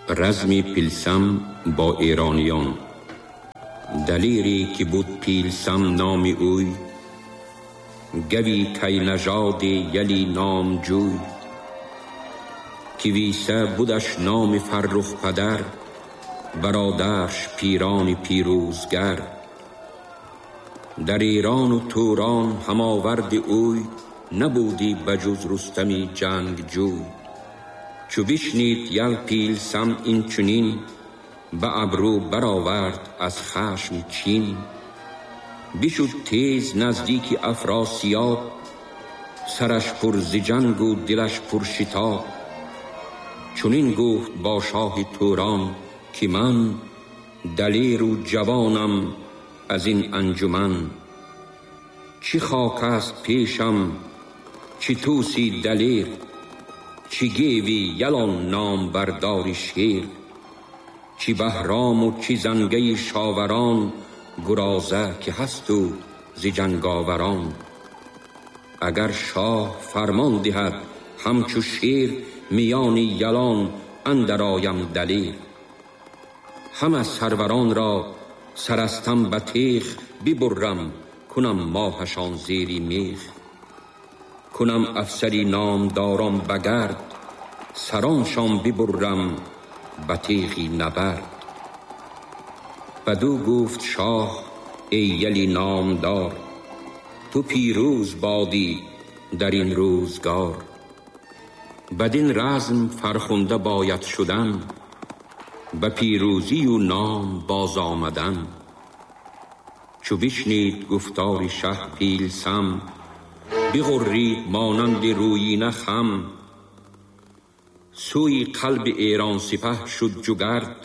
Разми Пилсам бо эрониён. Далере ки буд Пилсам номи ӯй, гави кайнажоди яли номҷӯй, ки виса будаш номи фаррух падар, бародарш пирони пирӯзгар. Дар Эрону Турон ҳамоварди ӯй набуди ба ҷуз Рустами ҷангҷӯй. Чу бишнид ял Пилсам инчунин, ба абрӯ баровард аз хашм чин. Бишуд тез наздики Афросиёб, сараш пур зи ҷангу дилаш пур шитоб. Чунин гуфт бо шоҳи Турон, ки ман далеру ҷавонам аз ин анҷуман. Чӣ хок аст пешам, чӣ тӯси далер, чӣ геви ялон номбардори шер, чӣ Баҳрому чӣ зангаи шоварон, гуроза ки ҳасту зи ҷанговарон. Агар шоҳ фармон диҳад ҳамчу шер, миёни ялон андар оям далер. Ҳама сарваронро сарастам ба теғ бибуррам, кунам моҳашон зери меғ. Кунам афсари номдорон ба гард, сароншон бибуррам ба теғи набард. Бадӯ гуфт шоҳ: эй яли номдор, ту пирӯз бодӣ дар ин рӯзгор. Бадин разм фархунда бояд шудан, ба пирӯзию ном боз омадан. Чу бишнид гуфтори шаҳ Пилсам, биғуррид монанди рӯйина хам. Сӯи қалби Эрон сипаҳ шуд ҷугард,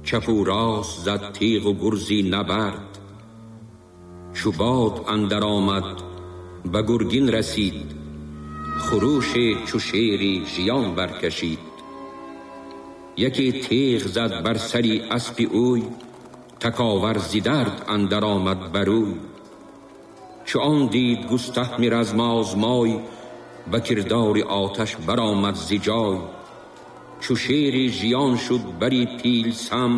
чапу рост зад теғу гурзи набард. Чу бод андар омад ба гургин расид, хурӯше чу шери жиён баркашид. Яке теғ зад бар сари аспи ӯй, таковар зи дард андар омад барӯй. Чу он дид Густаҳми размозмой, ба кирдори оташ баромад зи ҷой. Чу шери жиён шуд бари Пилсам,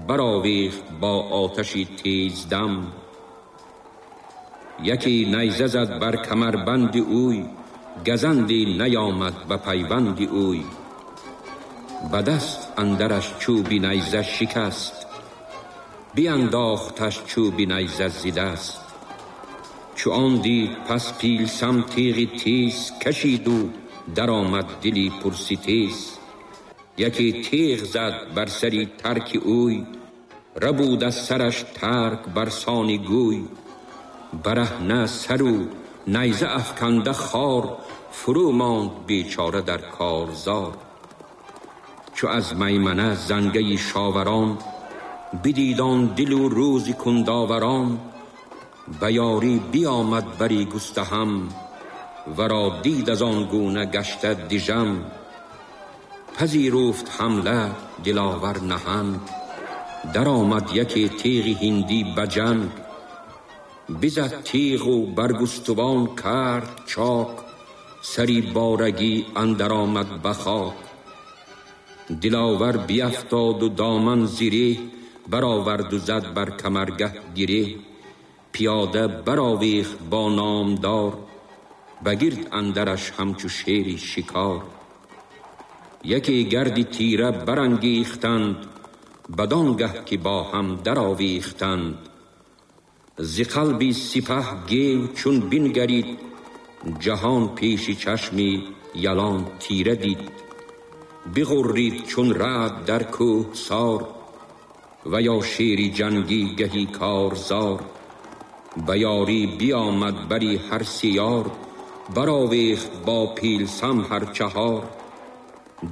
баровехт бо оташи тездам. Яке найза зад бар камарбанди ӯй, газанде наёмад ба пайванди ӯй. Ба даст андараш чӯби найза шикаст, биандохташ чӯби найза зи даст. Чу он дид пас Пилсам теғи тез кашиду даромад дили пурситез. Яке теғ зад бар сари тарки ӯй, рабуд аз сараш тарк бар сони гӯй. Бараҳна сару найза афканда хор, фурӯ монд бечора дар корзор. Чу аз маймана зангаи шоварон, бидид он дилу рӯзи кундоварон, ба ёрӣ биомад бари Густаҳам, варо дид аз он гуна гашта дижам. Пазируфт ҳамла диловар наҳанг, даромад яке теғи ҳиндӣ ба ҷанг. Бизад теғу бар густувон кард чок, сари борагӣ андар омад ба хок. Диловар биафтоду доман зиреҳ, бароварду зад бар камаргаҳ гиреҳ. Пиёда баровехт бо номдор, ба гирд андараш ҳамчу шери шикор. Яке гарди тира барангехтанд, бадон гаҳ ки бо ҳам даровехтанд. Зи қалби сипаҳ гев чун бингарид, ҷаҳон пеши чашми ялон тира дид. Биғуррид чун раъд дар кӯҳсор, ва ё шери ҷангӣ гаҳи корзор. Ба ёрӣ биомад бари ҳар сиёр, баровехт бо Пилсам ҳар чаҳор.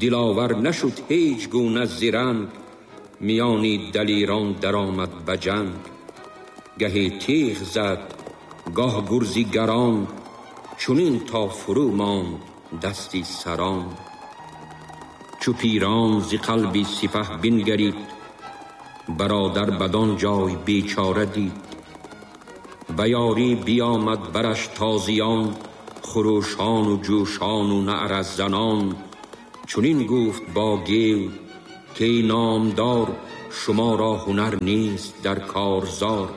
Диловар нашуд ҳеҷ гуна зиранг, миёни далерон даромад ба ҷанг. Гаҳе теғ зад, гоҳ гурзи гарон, чунин то фурӯ монд дасти сарон. Чу пирон зи қалби сипаҳ бингарид, бародар бадон ҷой бечора дид. Ба ёрӣ биомад бараш тозиён, хурӯшону ҷӯшону наъразанон. چنین گفت با گیو که ای نامدار، شما را هنر نیست در کارزار.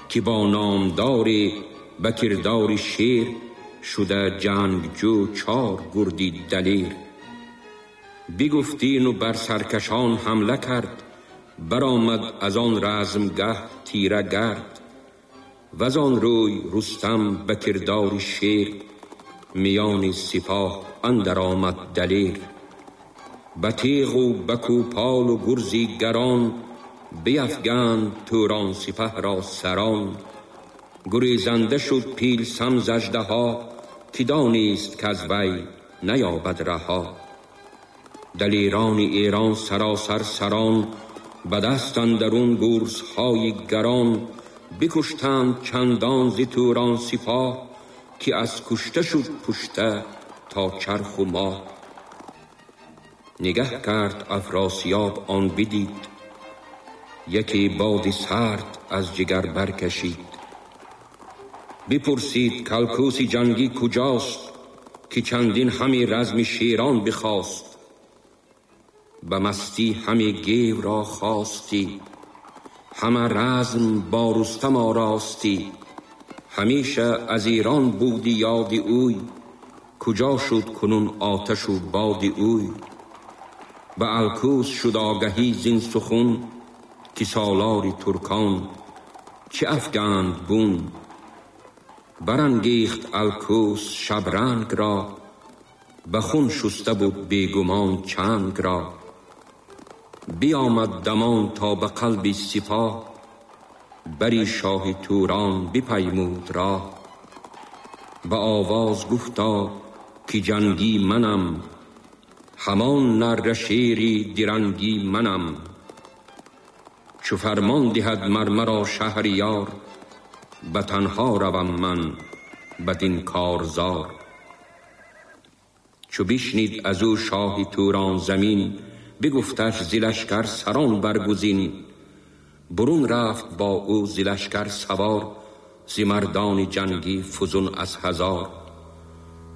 که با نامدار به کردار شیر، شده جنگجو چار گردی دلیر. بگفتین و بر سرکشان حمله کرد، برآمد از آن رزمگه تیره گرد. وزان روی رستم به کردار شیر، میان سپاه اندر آمد دلیر. به تیغ و به کوپال و گرزی گران، بیفگند توران سپه را سران. گریزنده شد پیلسم ز اژدها، که دانست کز وی نیابد رها. دلیران ایران سراسر سران، به دست اندرون گرزهای گران. بکشتند چندان ز توران سپاه، که از کشته شد پشته تا چرخ و ماه. نگه کرد افراسیاب آن بدید، یکی باد سرد از جگر برکشید. بپرسید کالکوس جنگی کجاست، که چندین همی رزم شیران بخواست. به مستی همی گیو را خواستی، همه رزم با رستم آراستی. همیشه از ایران بودی یاد اوی، کجا شد کنون آتش و باد اوی. به الکوس شد آگهی زین سخن، که سالار ترکان چه افگند بون. برانگیخت الکوس شبرنگ را، به خون شسته بود بیگمان چنگ را. بیامد دمان تا به قلب سپاه، بری شاه توران بپیمود راه. به آواز گفتا که جنگی منم، همان نره شیری درنگی منم. چو فرمان دهد مر مرا شهریار، به تنها روم من بدین کارزار. چو بشنید از او شاه توران زمین، بگفتش ز لشکر سران برگزین. برون رفت با او ز لشکر سوار، ز مردان جنگی فزون از هزار.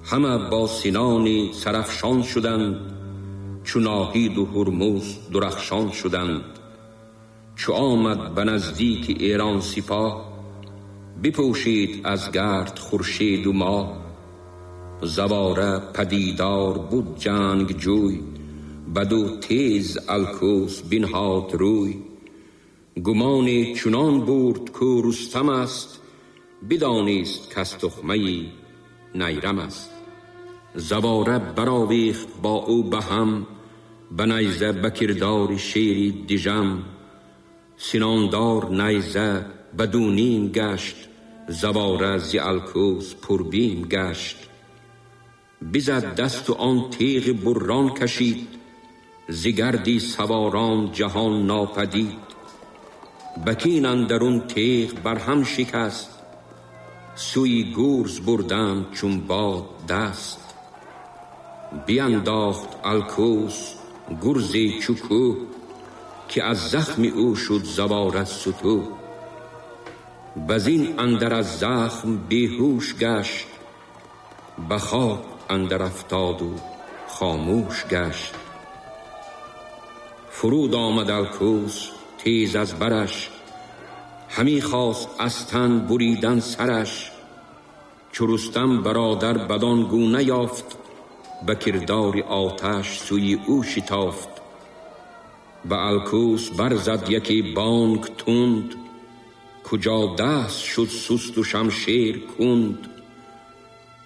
همه با سنان سرافشان شدند، چو ناهید و هرمز درخشان شدند. چو آمد به نزدیک ایران سپاه، بپوشید از گرد خورشید و ماه. زواره پدیدار بود جنگ جوی، بدو تیز الکوس بنهاد روی. گمان چنان برد کو رستم است، بدانست کز تخمه نیرم است. زواره برآویخت با او به هم، به نیزه به کردار شیری دژم. سناندار نیزه بدو نیم گشت، زواره ز الکوس پربیم گشت. بزد دست و آن تیغ بران کشید، ز گردی سواران جهان ناپدید. بکین اندرون تیغ برهم شکست، سوی گرز بردند چون باد دست. بینداخت الکوس گرزی چو کوه، که از زخم او شد زواره ستوه. بزین اندر از زخم بیهوش گشت، به خاک اندر افتاد و خاموش گشت. فرود آمد الکوس تیز از برش، همی خواست از تن بریدن سرش. چو رستم برادر بدان گونه یافت، به کردار آتش سوی او شتافت. به الکوس برزد یکی بانگ تند، کجا دست شد سست و شمشیر کند.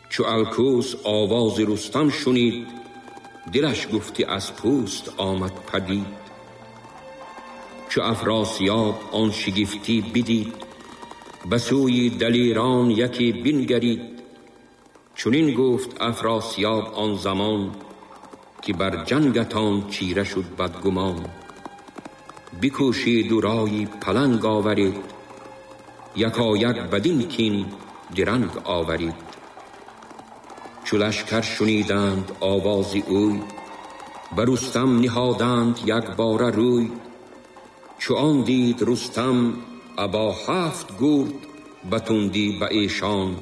چو الکوس آواز رستم شنید، دلش گفتی از پوست آمد پدید. چو افراسیاب آن شگفتی بدید، به سوی دلیران یکی بنگرید. چنین گفت افراسیاب آن زمان، که بر جنگتان چیره شد بدگمان. بکوشید و رای پلنگ آورید، یکایک بدین کین درنگ آورید. چو لشکر شنیدند آواز اوی، بر رستم نهادند یک باره روی. چو آن دید رستم ابا هفت گرد، به تندی به ایشان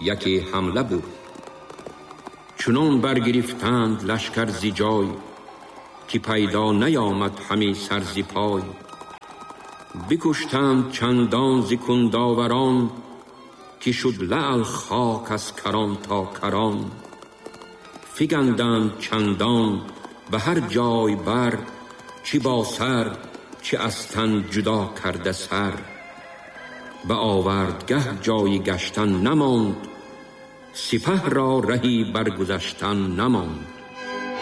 یکی حمله برد. Чунон баргирифтанд лашкар зи ҷой, ки пайдо наёмад ҳами сар зи пой. Бикуштанд чандон зи кундоварон, ки шуд лаъл хок аз карон то карон. Фиганданд чандон ба ҳар ҷой бар, чи бо сар, чи аз тан ҷудо карда сар. Ба овардгаҳ ҷойи гаштан намонд, сипаҳ ро раҳи баргузаштан намонд.